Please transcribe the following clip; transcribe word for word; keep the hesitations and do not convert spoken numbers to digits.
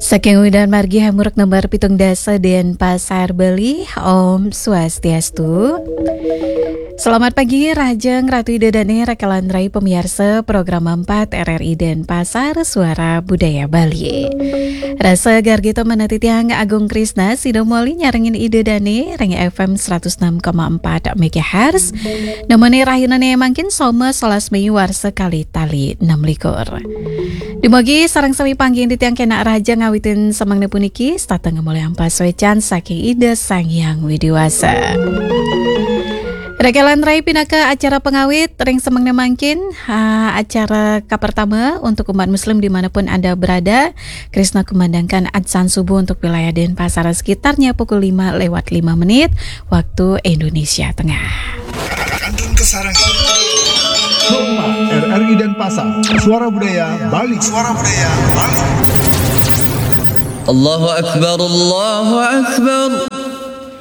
Saking Udan Margi Hamuruk nomor pitung dasa Denpasar, Bali. Om Swastiastu. Selamat pagi, Rahajeng Ratu Ida Dane, Raka lan Rai pamiarsa program empat R R I Denpasar, Suara Budaya Bali. Rasa gargita manah titiang Agung Krisna, sida moli nyarengin Ida Dane ring F M seratus enam koma empat megahertz. Nemoni rahinane mangkin Soma solas Mei warsa kalih tali enam likur. Dumugi sareng sami panggihin titiang kenak rahaja ngawitin semengne puniki, setata ngamolihang pasuecan saking Ida Sang Hyang Widi Wasa. Raka lan Rai, pinaka acara pangawit ring semengne mangkin, ha, acara kapertama untuk umat muslim dimanapun Anda berada, Krisna kumandangkan adzan subuh untuk wilayah Denpasar sekitarnya pukul lima lewat lima menit, waktu Indonesia Tengah. Kantun kasarengin. Soma, R R I Denpasar, Suara Budaya Bali. Suara Budaya Bali. Allahu Akbar, Allahu Akbar.